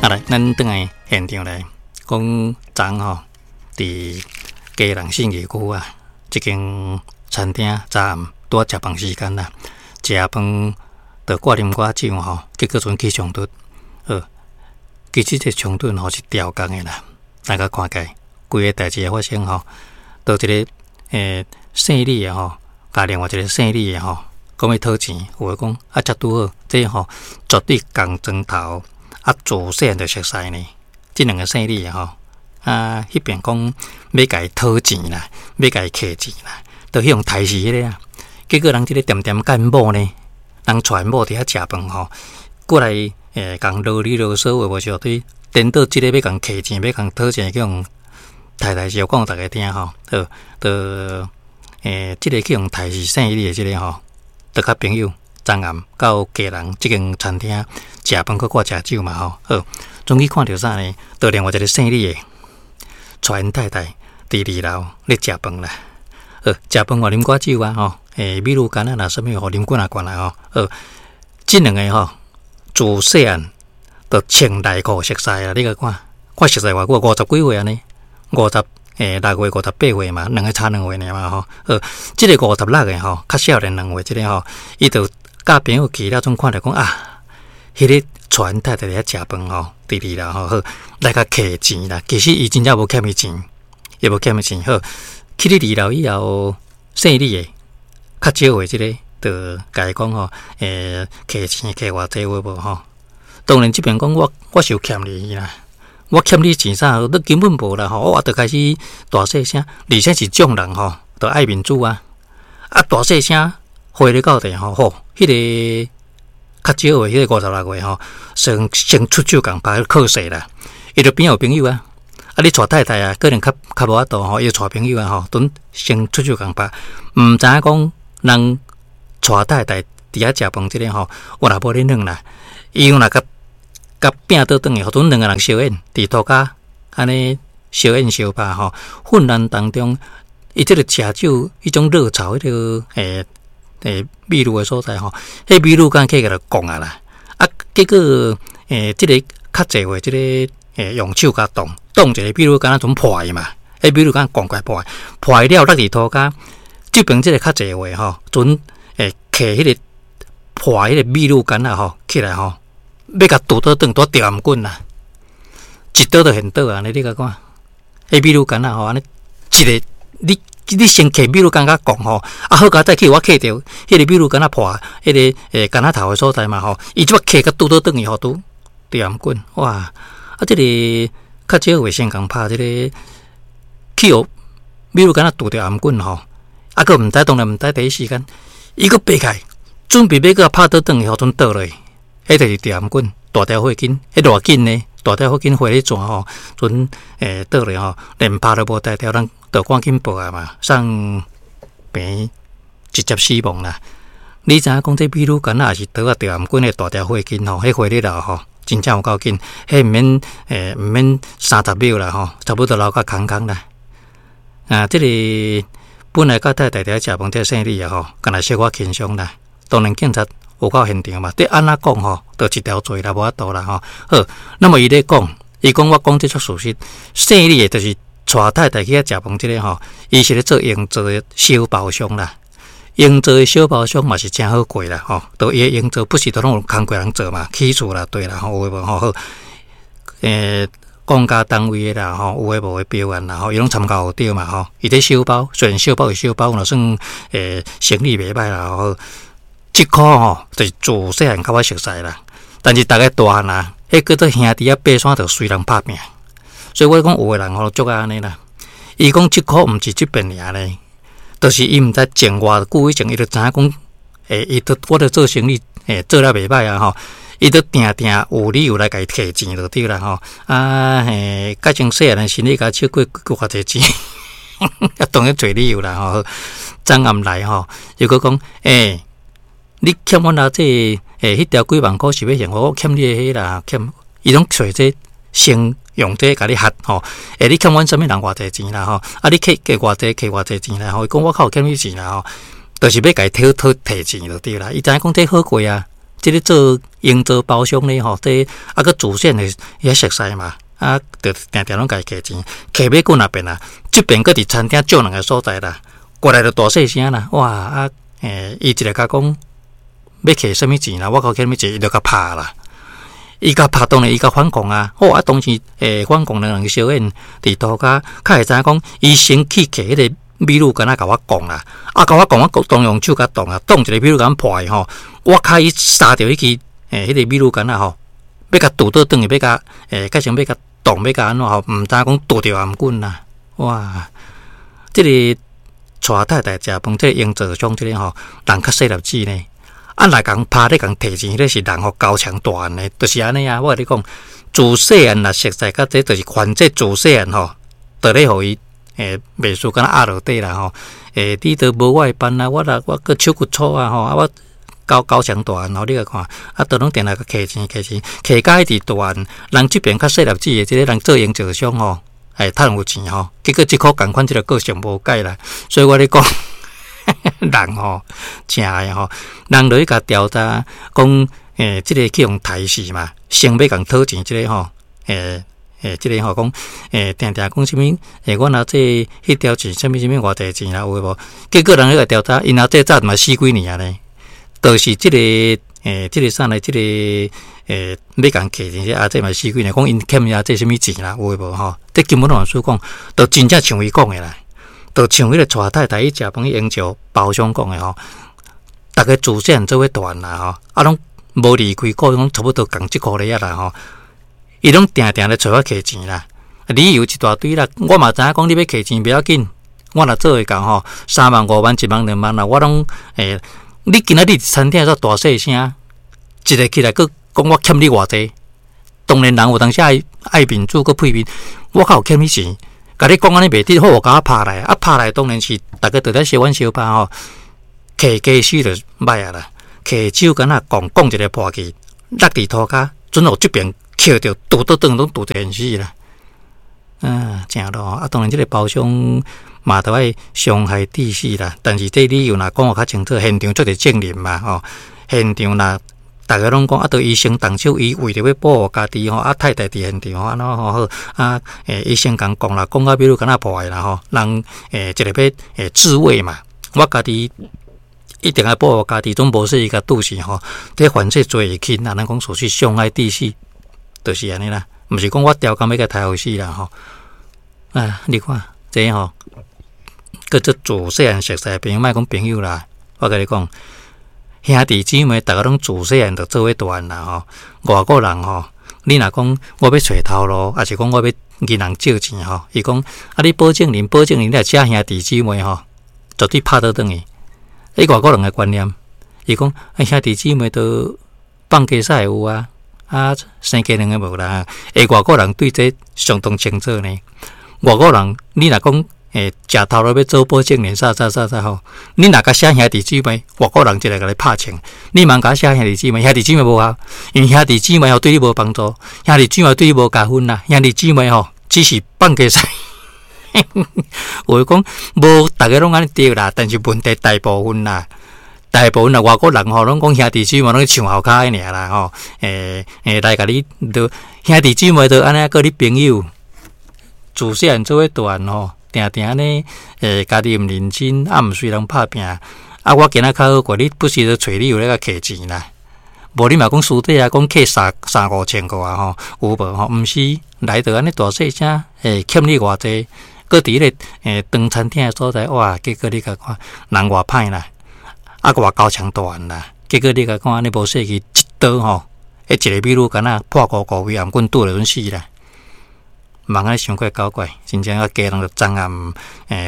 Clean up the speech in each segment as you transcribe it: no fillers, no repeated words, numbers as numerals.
啊來，咱轉來現場來講，昨昏吼，佇基隆信義區啊，這間餐廳昨暗拄仔食飯時間啦，食飯就掛啉寡酒吼，結果陣起衝突。好，其實這衝突吼是調工的啦，大家看起規个代誌的發生吼，到一个姓李的吼，共另外一個姓李的吼，講欲討錢，有的講啊，才拄好，這吼絕對仝磚頭啊，自細漢就熟似呢。這兩个姓李的吼，啊，彼邊講欲共伊討錢啦，欲共伊挃錢啦，就去予刣死彼个啊。結果人這个恬恬佮𪜶某呢，人帶𪜶某佇遐食飯吼，過來共囉哩囉嗦話無是對，顛倒這个欲共挃錢，欲共討錢，去予刣刣死，講予逐家聽吼。好，就這个去予刣死姓李的這个吼，就佮朋友昨暗到基隆這間餐廳食飯，閣掛食酒嘛吼。好，終於看著啥呢？就另外一个姓李的，帶𪜶太太佇二樓咧食飯啦。好，食飯嘛啉寡酒啊吼，米露柑啊，若啥物吼，啉幾若罐啦吼。好，這兩个吼，自細漢就穿內褲熟似啦，你共看，看熟似偌久，五十幾歲按呢，五十六歲、58歲嘛，兩个差2歲爾嘛吼。好，這个56个吼，較少年2歲，這个吼，伊就佮朋友去了，總看著講啊，彼个帶𪜶太太佇遐食飯吼，佇二樓吼，好來共挃錢啦。其實伊真正無欠伊錢，伊無欠伊錢。好，去咧二樓以後，姓李的較少歲這个，就共伊講吼，挃錢挃偌濟有無吼？當然這邊講我我是有欠你啦，我欠你錢啥？你根本無啦吼！我就開始大細聲，而且是眾人吼，都愛面子啊！啊，大細聲回咧到底吼，吼，彼个較少歲，彼个56歲吼，先先出手共拍靠勢啦。伊就邊有朋友啊，啊，你帶太太啊，可能較較無法度吼，伊就帶朋友啊吼，陣先出手共拍，毋知影講人帶太太佇遐食飯這个吼，有若無咧軟啦，伊若共共拚倒轉去，予陣兩个人相演，佇塗跤按呢相演相拍吼，混亂當中，伊這个食酒彼種熱炒彼个秘魯的所在吼，彼秘魯柑起來就摃啊啦，啊，結果這个較濟歲這个用手共擋擋一个秘魯柑仔陣破去嘛，彼秘魯柑摃過來破去，破去了落佇塗跤，這邊這个較濟歲吼，陣揢彼个破彼个秘魯柑仔吼起來吼，欲共拄倒轉，拄著頷棍啦，一刀就現倒啊！你共看，彼秘魯柑仔吼，按呢一个你你先揢秘魯柑仔摃吼，啊好佳哉去予我揢著，彼个秘魯柑仔破，彼个柑仔頭的所在嘛吼，伊這擺揢共拄倒轉去吼，拄著頷棍，哇！啊，這个較少會先共拍這个去予秘魯柑仔拄著頷棍吼，啊，閣毋知當然毋知第一時間，伊閣爬起來，準備欲閣拍倒轉去，予陣倒落去。彼就是著頷棍，大條血筋，彼偌緊呢？大條血筋血咧轉吼，陣倒落吼，連拍都無才調，咱就趕緊報案嘛，送病院直接死亡啦。你知影講這秘魯柑仔也是刀仔著頷棍的大條血筋吼，彼血咧流吼，真正有夠緊，彼毋免毋免30秒啦吼，差不多流甲空空啦。啊，這个本來佮太太佇遐食飯，這姓李的吼，敢若小可輕鬆啦。當然警察有到現場嘛，這按怎講吼，就一條罪啦，無法度啦吼。好，那麼伊咧講，伊講我講這足事實，姓李的就是帶太太去遐食飯這个吼，伊是咧做營造的小包商啦。營造的小包商嘛是誠好過啦吼，都伊的營造不是都攏有工課人做嘛，起厝啦對啦吼，有的無吼好，公家單位的啦吼，有的無的標案啦吼，伊攏參加有對嘛吼，伊咧小包，雖然小包是小包，若算生意袂歹啦吼。這箍吼就是自細漢佮我熟似啦，但是逐个大漢啊，彼叫做兄弟仔爬山就隨人拍拚，所以我講有的人吼足愛按呢啦。伊講這箍毋是這邊爾呢，就是伊毋知種偌久以前，伊就知影講，伊都我咧做生意，做了袂歹啊吼，伊都定定有理由來共伊提錢就對啦吼。啊嘿，改成細漢的時，你共借過偌濟錢，啊當然揣理由啦吼。昨暗來吼，又閣講，你欠阮阿這彼條幾萬箍是欲還我，我欠你的彼啦，欠伊攏揣這先用這共你嚇吼。你欠阮啥物人偌濟錢啦吼？啊，你欠欠偌濟，欠偌濟錢啦吼？伊講我較有欠你錢啦吼，就是欲共伊討討提錢就對啦。伊知影講這好過啊，這个做營造包商咧吼，這啊閣自細漢遐熟似嘛，啊，就定定攏共伊挈錢，挈欲閣若變啊，這邊閣佇餐廳借人的所在啦，過來就大細聲啦，哇啊，伊一個共講欲挈啥物錢啦，我閣欠啥物錢，伊就共拍啦，伊共拍當然伊共反抗啊，好啊，當時反抗兩人相演佇塗跤，較會知影講伊先去挈彼个美女敢若共我講啦，啊，共我講，我當用手共擋啊，擋一个美女共破去吼，我較伊殺著彼支彼个美女敢若吼，欲共拄倒轉去，欲共改成欲共擋，欲共按怎吼，毋知影講拄著也毋緊啦，哇！這个帶太太食飯，這个營造商這个吼，人較細粒子呢，啊，若共拍咧共提錢，彼个是人吼高強大漢的，就是按呢啊！我共你講，自細漢若熟似甲這，就是反正自細漢吼，就咧予伊袂輸敢若壓落底啦吼，你都無我的辦啊，我若我閣手骨粗啊吼，啊我高高強大漢吼，你共看，啊都攏定來共挈錢挈錢，挈甲一直大漢，人這邊較細粒子的這个人做營造商吼，趁有錢吼，結果這箍仝款這个個性無改啦，所以我咧講，人吼，誠愛吼，人落去共調查講，這个去予刣死嘛，先欲共討錢這个吼，這个吼講，定定講啥物？阮阿姐彼條錢啥物啥物偌濟錢啦，有無？結果人彼個調查，𪜶阿姐早嘛死幾年啊呢？就是這個，這個啥呢？這個，欲共挈錢，阿姐嘛死幾年，講𪜶欠阿姐啥物錢啦，有無吼？這根本攏輸講，就真正像伊講的啦，就像彼個帶太太去食飯去應酬包廂講的吼，逐家自細漢做伙大漢啦吼，啊攏無離開故鄉，差不多仝這箍咧啦吼。伊攏定定咧揣我挈錢啦，理由一大堆啦。我嘛知影講你欲挈錢袂要緊，我若做會到吼，3萬、5萬、1萬、2萬啦，我攏你今仔日餐廳煞大細聲，一个起來閣講我欠你偌濟。當然人有當時愛愛面子閣配面，我較有欠你錢，共你講按呢袂得好，共我拍來，啊拍來當然是逐家都咧相阮相拍吼，挈家私就歹啊啦，挈手敢若講講一个破去，落佇塗跤，準予這邊。抾著拄倒轉攏拄著現死啦！啊，誠咯！啊，當然這个包廂嘛，著愛傷害致死啦。但是這理由若講予較清楚，現場足濟證人嘛，吼，現場若逐家攏講啊，著醫生動手，伊為著欲保護家己吼，啊太太佇現場吼，按怎吼好啊？醫生共講啦，講甲比如敢若破的啦吼，人一个欲自衛嘛，我家己一定愛保護家己，總無說伊共拄死吼。這犯罪罪會輕啦，咱講屬於傷害致死。就是按呢啦，毋是講我刁工欲共刣予死啦吼。啊，你看這吼，叫做自細漢熟似的朋友，莫講朋友啦。我共你講，兄弟姊妹，逐家攏自細漢就做伙大漢啦吼。外國人吼，你若講我欲揣頭路，抑是講我欲銀行借錢吼，伊講啊，你保證人，保證人，你若寫兄弟姊妹吼，絕對拍倒轉去。伊外國人的觀念，伊講啊，兄弟姊妹都放雞屎會有啊。啊，生雞卵的無啦。外國人對這相當清楚呢。外國人，你若講食頭路欲做保證人啥啥啥啥吼，你若共寫兄弟姊妹，外國人就來共你拍槍。你毋通共寫兄弟姊妹，兄弟姊妹無效，因為兄弟姊妹吼對你無幫助，兄弟姊妹對你無加分啦。兄弟姊妹吼只是放雞屎。有的講無，逐家攏按呢對啦，但是問題大部分啦。大部分啊，外國人吼，攏講兄弟姊妹攏唱後跤的爾啦吼，來共你都兄弟姊妹都按呢，閣你朋友自細漢做伙大漢吼，定定按呢，家己毋認真，啊毋隨人拍拚，啊我今仔較好過，你不時都揣理由來共挈錢啦，無你嘛講私底下講挈三三五千個啊吼，有無吼？毋是來著按呢大細聲，欠你偌濟，閣佇彼个長餐廳的所在，哇，結果你共看人偌歹啦！啊，閣偌高強大漢啦！結果你共看按呢無細氣，一刀吼，彼一個美女敢若破糊糊位，毋管拄著陣死啦！茫按呢傷過搞怪，真正啊，家人就昨暗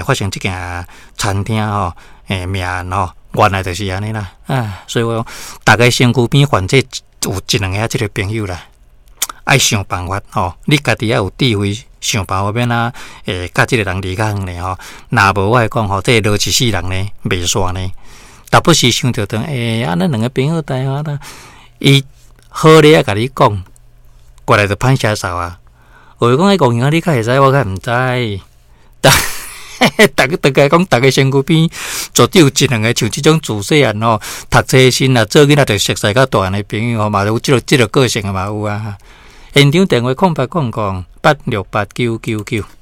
發生這件餐廳吼命案吼，原來就是按呢啦！啊，所以我講，逐家身軀邊反正有一兩个這個朋友啦，愛想辦法吼，你家己愛有智慧，想辦法欲按怎共這個人離較遠咧吼。若無我會講吼，這個落一世人呢，袂煞呢。逐不時想著當，啊，咱兩个朋友台灣啦，伊好咧啊，共你講，過來就歹寫數啊。有的講彼戇嬰仔，你較會知，我較毋知。但逐個逐個講，逐个身軀邊絕對有一兩個像這種自細漢吼，讀冊時啊，做囡仔就熟似較大漢的朋友吼，嘛有這個個性的嘛有啊。現場電話0800868999。